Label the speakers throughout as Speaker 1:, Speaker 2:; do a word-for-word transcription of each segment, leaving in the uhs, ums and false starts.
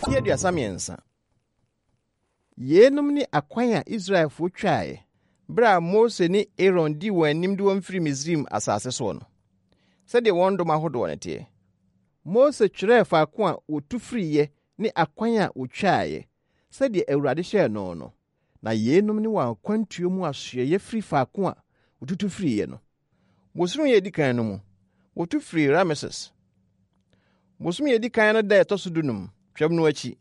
Speaker 1: Mfeɛ aduasa mmiɛnsa. Yeinom ne akwan a Israelfoɔ twaeɛ berɛ a Mose ne Aaron dii wɔn anim de wɔn firi Misraim asase soɔ no, sɛdeɛ wɔn dɔm ahodoɔ no teɛ. Mose twerɛɛ faako a wɔtu firiiɛ ne akwan a wɔtwaeɛ, sɛdeɛ Awurade hyɛɛ no no. Na yeinom ne wɔn akwantuo mu asoɛeɛ firi faako a wɔtutu firiiɛ no. Bosome a ɛdi kan no mu, wɔtu firii Rameses. Bosome a ɛdi kan no da a ɛtɔ so dunum, Twam no akyi,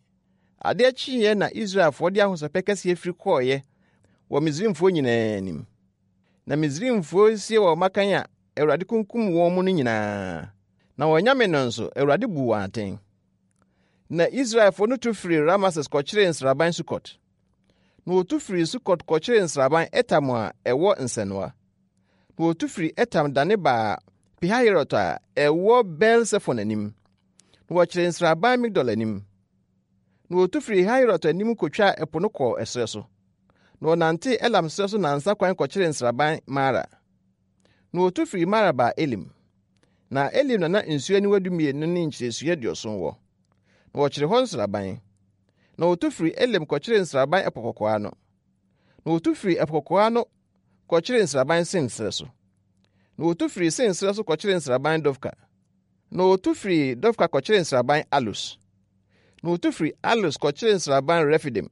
Speaker 1: adeɛ kyeeɛ na Israelfoɔ de ahosɛpɛ kɛseɛ firi kɔeɛ wɔ Misraimfoɔ nyinaa anim. Na Misraimfoɔ sie wɔn mmakan a Awurade kunkum wɔn mu no nyinaa. Na wɔn anyame no nso, Awurade buu wɔn atɛn. Na Israelfoɔ no tu firii Rameses kɔkyeree nsraban Sukot. Na wɔtu firii Sukot kɔkyeree nsraban Etam a ɛwɔ nsɛnoa. Na wɔtu firii Etam dane baa Pihahirot a ɛwɔ Baal-Sefon anim. Na wɔkyeree nsraban Migdol anim. Na wɔtu firii Hahirot anim kotwaa ɛpo no kɔɔ ɛserɛ so. Na wɔnantee Elam serɛ so nnansa kwan kɔkyeree nsraban Mara. Na wɔtu firii Mara baa Elim. Na Elim na na nsuo aniwa dumienu ne nkyiresua aduɔson wɔ. Na wɔkyeree hɔ nsraban. Na wɔtu firii Elim kɔkyeree nsraban Ɛpo Kɔkɔɔ ano. Na wɔtu firii Ɛpo Kɔkɔɔ ano kɔkyeree nsraban Sin serɛ so. Na wɔtu firii Sin serɛ so kɔkyeree nsraban Dofka. Na wɔtu firii Dofka kɔkyeree nsraban Alus. Na wɔtu firii Alus kɔkyeree nsraban Refidim.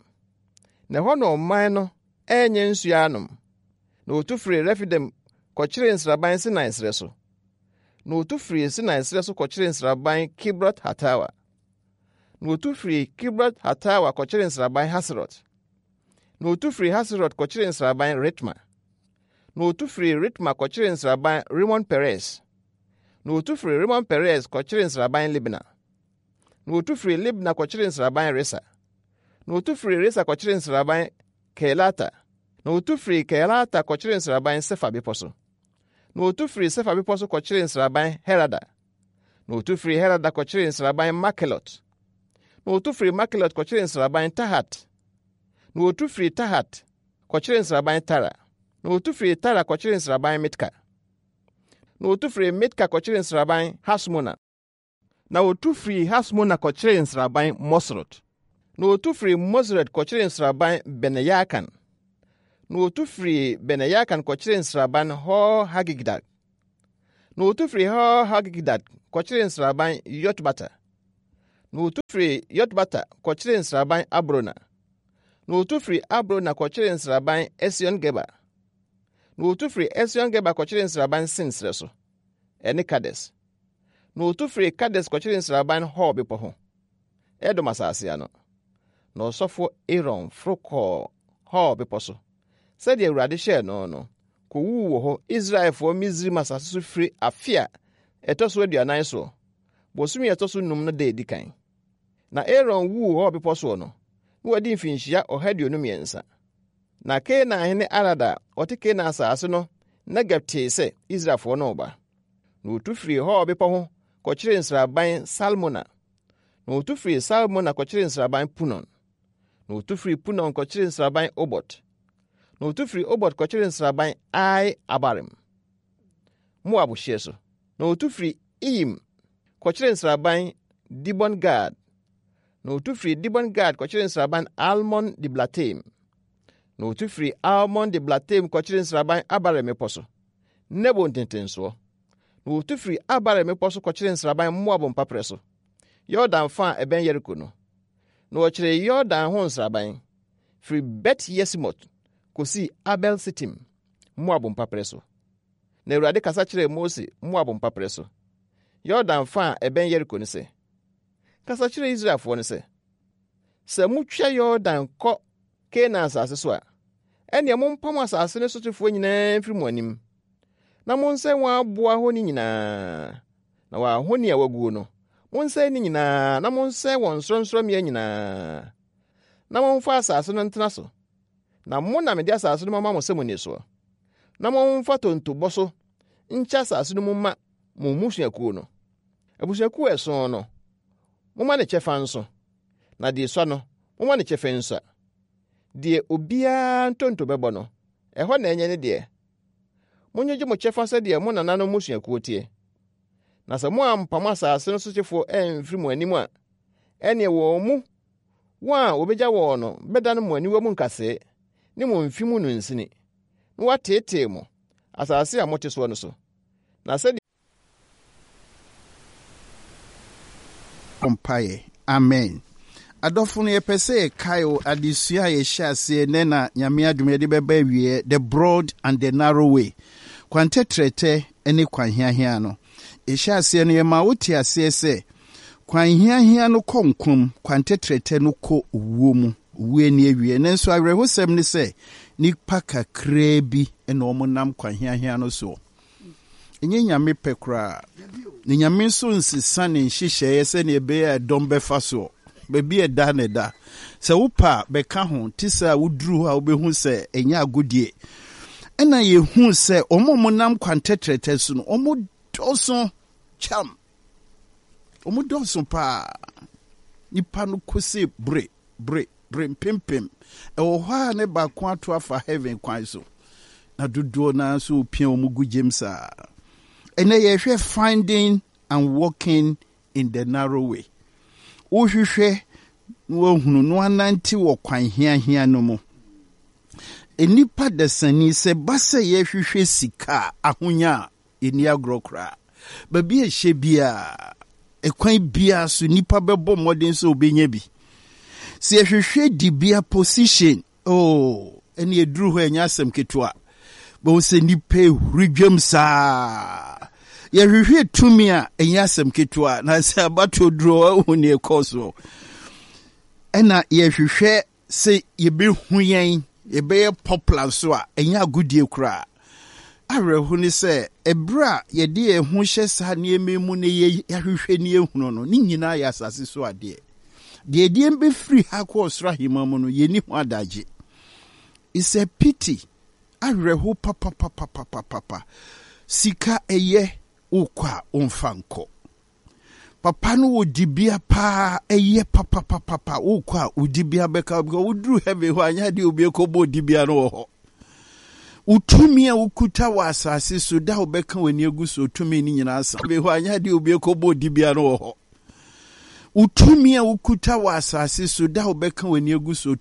Speaker 1: Na ɛhɔ na ɔman no annya nsuo anom. Na wɔtu firii Refidim kɔkyeree nsraban Sinai serɛ so. Na wɔtu firii Sinai serɛ so kɔkyeree nsraban Kibrot Hatawa. Na wɔtu firii Kibrot Hatawa kɔkyeree nsraban Haserot. Na wɔtu firii Haserot kɔkyeree nsraban Ritma. Na wɔtu firii Ritma kɔkyeree nsraban Rimon Peres. Na wɔtu firii Rimon Peres kɔkyeree nsraban Libna. Na wɔtu firii Libna kɔkyeree nsraban Risa. Na wɔtu firii Risa kɔkyeree nsraban Keelata. Na wɔtu firii Keelata kɔkyeree nsraban Sefa bepɔ so. Na wɔtu firii Sefa bepɔ so kɔkyeree nsraban Herada. Na wɔtu firii Herada kɔkyeree nsraban Makelot. Na wɔtu firii Makelot kɔkyeree nsraban Tahat. Na wɔtu firii Tahat kɔkyeree nsraban Tara. Na wɔtu firii Tara kɔkyeree nsraban Mitka. Na wɔtu firii Mitka kɔkyeree nsraban Hasmona. Na wɔtu firii Hasmona kɔkyeree nsraban Moserot. Na wɔtu firii Moserot kɔkyeree nsraban Bene-Yaakan. Na wɔtu firii Bene-Yaakan kɔkyeree nsraban Hor-Hagidgad. Na wɔtu firii Hor-Hagidgad kɔkyeree nsraban Yotbata. Na wɔtu firii Yotbata kɔkyeree nsraban Abrona. Na wɔtu firii Abrona kɔkyeree nsraban Esion-Geber. Na wɔtu firii Esion-Geber kɔkyeree nsraban Sin serɛ so, ɛne Kades. Na wɔtu firii Kades kɔkyeree nsraban Hor bepɔ ho, Edom asase ano. Na ɔsɔfoɔ Aaron foro kɔɔ Hor bepɔ so, sɛdeɛ Awurade hyɛɛ no no, kɔwuu wɔ hɔ Israelfoɔ Misraim asase so firi afe a ɛtɔ so aduanan soɔ, bosome a ɛtɔ so num no da edi kan. Na Aaron wuu Hor bepɔ soɔ no, na wadi mfinhyia ɔha aduonu mmiɛnsa. Na Kanaan hene Arad a ɔte Kanaan asase no Negeb tee sɛ Israelfoɔ no reba. Na wɔtu firii Hor bepɔ ho kɔkyeree nsraban Salmona. Na wɔtu firii Salmona kɔkyeree nsraban Punon. Na wɔtu firii Punon kɔkyeree nsraban Obot. Na wɔtu firii Obot kɔkyeree nsraban Ai Abarim, Moab hyeɛ so. Na wɔtu firii Iyim kɔkyeree nsraban Dibon Gad. Na wɔtu firii Dibon Gad kɔkyeree nsraban Almon Diblataim. Na wɔtu firii Almon Diblataim kɔkyeree nsraban Abarim mmepɔ so, Nebo ntentensoɔ. Na wɔtu firii Abarim mmepɔ so kɔkyeree nsraban Moab mpaperɛ so, Yordan fa a ɛbɛn Yeriko no. Na wɔkyeree Yordan ho nsraban, firi Bet Yesimot kosii Abel Sitim, Moab mpaperɛ so. Na Awurade kasa kyerɛɛ Mose Moab mpaperɛ so, Yordan fa a ɛbɛn Yeriko no sɛ, Kasa kyerɛ Israelfoɔ no sɛ, sɛ motwa Yordan kɔ Kanaan asase so a, ɛnneɛ mompam asase no sotefoɔ nyinaa mfiri mo anim, na monsɛe wɔn aboa ahoni nyinaa, na wɔn ahoni a wɔaguo no, monsɛe ne nyinaa na monsɛe wɔn nsorɔnsorɔmmea nyinaa, na momfa asase no ntena so. Na mo na mede asase no mama mo sɛ mo ni soɔ. Na momfa tontobɔ so nkyɛ asase no mu ma mo mmusuakuo no. Abusuakuo a ɛson no, momma ne kyɛfa nso, na deɛ esua no, momma ne kyɛfa nsua. Deɛ obiara ntonto bɛbɔ no, ɛhɔ na ɛnyɛ ne deɛ. Monyegye mo kyɛfa sɛdeɛ mo nananom mmusuakuo teɛ. Na sɛ moampam asase no sotefoɔ amfiri mo anim a, ɛnneɛ wɔn mu Wɔn a wɔbɛgya wɔn no bɛdane mo aniwa mu nkasɛɛ ne mo mfe mu nnunsini, na wɔateetee mo, asase a mote soɔ no so. Na sɛdeɛ
Speaker 2: Mpaeɛ. Amen. Adɔfo no, yɛpɛ sɛ yɛkae o adesua a yɛhyɛ aseɛ nɛ na Nyame adom yɛde bɛba awieɛ, The Broad and the Narrow Way, kwan tɛtrɛtɛ ne kwan hiahia no. Yɛhyɛ aseɛ no, yɛma wote aseɛ sɛ kwan hiahia no kɔ nkwa mu, kwan tɛtrɛtɛ no kɔ owuo mu, owuo ani awieɛ. Nanso awerɛhosɛm ne sɛ nnipa kakraa bi na wɔnam kwan hiahia no soɔ. Ɛnyɛ Nyame pɛ koraa. Na Nyame nso nsesa ne nhyehyɛeɛ sɛdeɛ ɛbɛyɛ a ɛdɔm bɛfa soɔ. Baabi a ɛda na ɛda. Sɛ wopɛ a, bɛka ho. Te sɛ a woduru hɔ a wobɛhu sɛ ɛnyɛ agodie. Ɛna yɛhu sɛ wɔn a wɔnam kwan tɛtrɛtɛ so no, wɔn dɔɔso kyam. Wɔn dɔɔso paa. Nipa no kose bere, bere, bere mpempem. Ɛwɔ hɔ a ne baako ato afa heaven kwan so. Na dodoɔ no ara nso wɔpia wɔn gu gyam saa. Ɛnɛ yɛhwɛ finding and walking in the narrow way. Wohwehwɛ na woahunu na woanante wɔ kwan hiahia no mu. Nnipa dasani sɛ ba sɛ yɛhwehwɛ sika a, ahonya a, yɛnni agorɔ koraa. Baabi a ɛhyɛ biara, ɛkwan biara so nnipa bɛbɔ mmɔden sɛ wɔbɛnya bi. Sɛ yɛhwehwɛ dibea position, oh, ɛne ɛduru hɔ ɛnyɛ asɛm ketewa. Bɛhu sɛ nnipa ehuri dwam saa. Yɛhwehwɛ tumi a ɛnyɛ asɛm ketewa, na sɛ abatoɔ duru hɔ ahu nea ɛkɔɔ soɔ. Ɛna yɛhwehwɛ sɛ yɛbɛhu yɛn, yɛbɛyɛ popular nso a, ɛnyɛ agodie koraa. Awerɛho ne sɛ, ɛberɛ a yɛde yɛn ho hyɛ saa nneɛma mu na yɛahwehwɛ ne yɛhunu no, ne nyinaa yɛ asase so adeɛ. Deɛ ɛdeɛ bɛfiri ha kɔ ɔsoro ahemman mu no, yɛnni ho adagye. It's a pity. Awerɛho papapapapapapa. Sika ɛyɛ, wokɔ a womfa nkɔ. Papa no wɔ dibea paa, ɛyɛ papapapapa. Wokɔ a wo dibea bɛka, because woduru heaven hɔ anyɛ adeɛ obi ɛkɔbɔ dibea no wɔ hɔ. Wo tumi a wokuta wɔ asase so da wobɛka w'ani agu so tumi no nyinaa sa. Hɔ anyɛ adeɛ obi ɛkɔbɔ dibea no wɔ hɔ. Wo tumi a wokuta wɔ asase so da wobɛka w'ani agu so